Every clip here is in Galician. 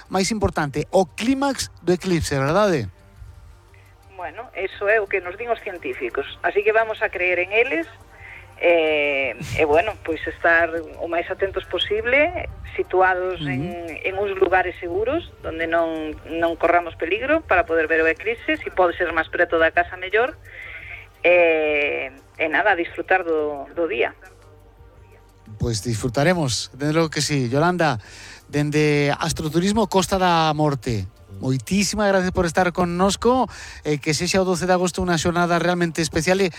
máis importante, o clímax do eclipse, verdade? Bueno, eso é o que nos din os científicos, así que vamos a creer en eles e bueno, pois estar o máis atentos posible, situados en uns lugares seguros onde non corramos peligro para poder ver o eclipse, se pode ser máis preto da casa mellor, e nada, disfrutar do día. Pois disfrutaremos, dende logo que sí. Yolanda, dende Astroturismo Costa da Morte, moitísimas gracias por estar connosco, que sexa o 12 de agosto unha xornada realmente especial e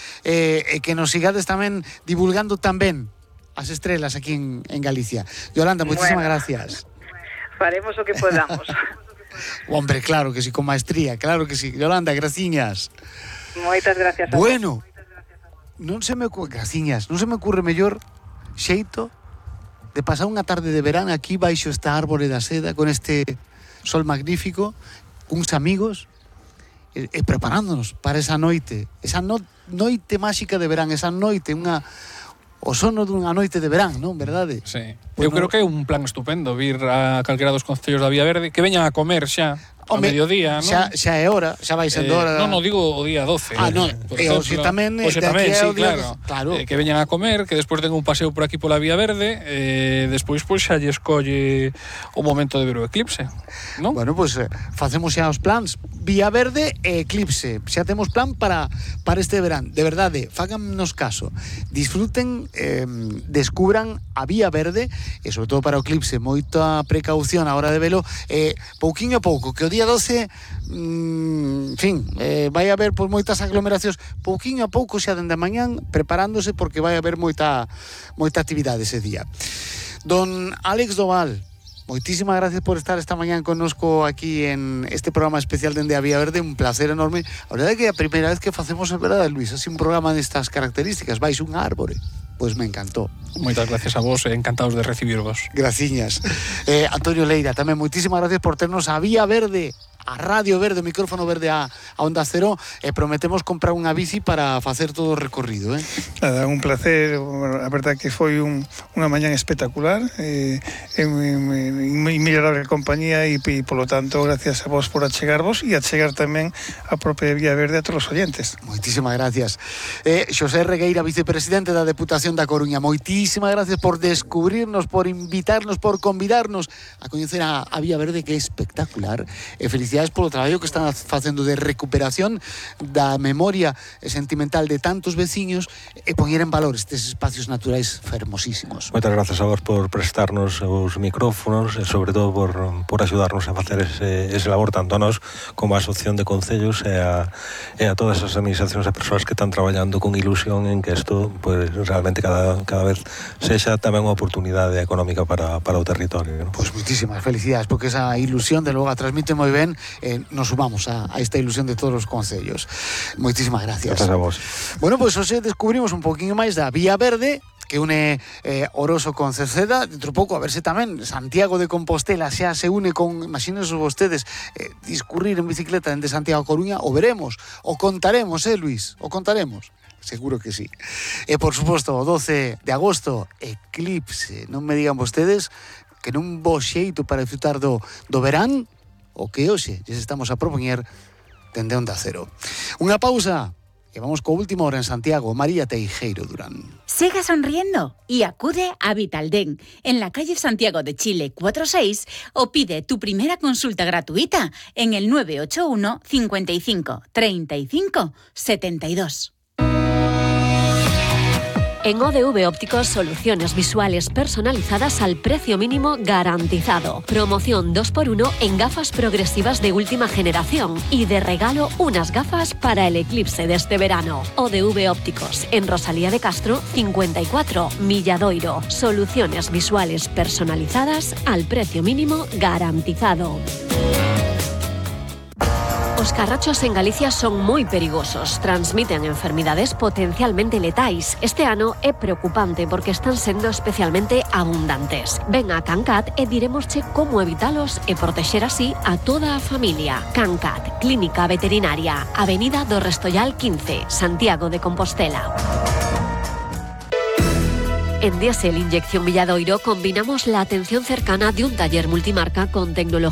que nos sigades tamén divulgando tamén as estrelas aquí en Galicia. Yolanda, moitísimas gracias. Faremos o que podamos. Hombre, claro que sí, con maestría, claro que sí. Yolanda, graciñas. Moitas gracias a bueno, non se me ocurre mellor xeito de pasar unha tarde de verán aquí baixo esta árbore da seda con este sol magnífico, uns amigos e preparándonos para esa noite, noite máxica de verán, esa noite, o sono dunha noite de verán, non, verdade? Sí. Eu creo que é un plan estupendo vir a calquera dos concellos da Vía Verde, que veñan a comer xa ao mediodía, non? Xa é hora, xa vai sendo hora. Non, digo o día 12. Non, e hoxe tamén, sí, claro. Que veñan a comer, que despois den un paseo por aquí pola Vía Verde, despois xa lle escolle o momento de ver o eclipse, non? Bueno, pois facemos xa os plans, Vía Verde e eclipse. Xa temos plan para este verán. De verdade, fágannos caso. Disfruten, descubran a Vía Verde e sobre todo para o eclipse, moita precaución a hora de velo, pouquiño a pouco, que o día 12 vai haber pois moitas aglomeracións, pouquiño a pouco xa dende a mañán preparándose porque vai haber moita actividade ese día. Don Álex Doval, moitísimas gracias por estar esta mañán connosco aquí en este programa especial dende a Vía Verde, un placer enorme. A verdade é que é a primeira vez que facemos, é verdade, Luis, así un programa destas características, vais un árbore. Pois me encantó. Moitas gracias a vos, encantados de recibirvos. Graciñas. Antonio Leira, tamén moitísimas gracias por ternos a Vía Verde, a Radio Verde, o micrófono verde a Onda Cero, e prometemos comprar unha bici para facer todo o recorrido, Nada, un placer, a verdade que foi unha mañán espectacular, inmellorable compañía e polo tanto, gracias a vos por achegarvos e achegar tamén a propia Vía Verde a todos os oyentes. Moitísimas gracias. Xosé Regueira, vicepresidente da Deputación da Coruña, moitísimas gracias por descubrirnos, por invitarnos, por convidarnos a coñecer a Vía Verde, que é espectacular, e felicidades polo traballo que están facendo de recuperación da memoria sentimental de tantos veciños e poñer en valor estes espacios naturais fermosísimos. Moitas gracias a vos por prestarnos os micrófonos e sobre todo por axudarnos a facer ese labor tanto a nós como a Asociación de Concellos e a todas as administracións e persoas que están traballando con ilusión en que isto pues, realmente cada vez sexa tamén unha oportunidade económica para o territorio, ¿no? Pois moitísimas felicidades, porque esa ilusión de logo a transmite moi ben, nos sumamos a esta ilusión de todos os concellos. Moitísimas gracias. Gracias a vos. Bueno, pois hoxe descubrimos un poquinho máis da Vía Verde, que une Oroso con Cerceda. Dentro pouco a ver se tamén Santiago de Compostela xa se une con, imagínense vostedes, discurrir en bicicleta dende Santiago a Coruña. O veremos, o contaremos, Luis, o contaremos. Seguro que sí. E por suposto, o 12 de agosto, eclipse. Non me digan vostedes que non bo xeito para disfrutar do verán, o que hoxe lles estamos a propoñer dende Onda Cero. Unha pausa e vamos co última hora en Santiago. María Teijeiro Durán. Siga sonriendo y acude a Vitaldent en la calle Santiago de Chile 46 o pide tu primera consulta gratuita en el 981 55 35 72. En ODV Ópticos, soluciones visuales personalizadas al precio mínimo garantizado. Promoción 2x1 en gafas progresivas de última generación y de regalo unas gafas para el eclipse de este verano. ODV Ópticos, en Rosalía de Castro 54, Milladoiro. Soluciones visuales personalizadas al precio mínimo garantizado. Os carrachos en Galicia son moi perigosos, transmiten enfermidades potencialmente letais. Este ano é preocupante porque están sendo especialmente abundantes. Ven a Cancat e diremosche como evitalos e protexer así a toda a familia. Cancat, Clínica Veterinaria, Avenida do Restollal 15, Santiago de Compostela. En Diesel Inyección Milladoiro combinamos la atención cercana de un taller multimarca con tecnología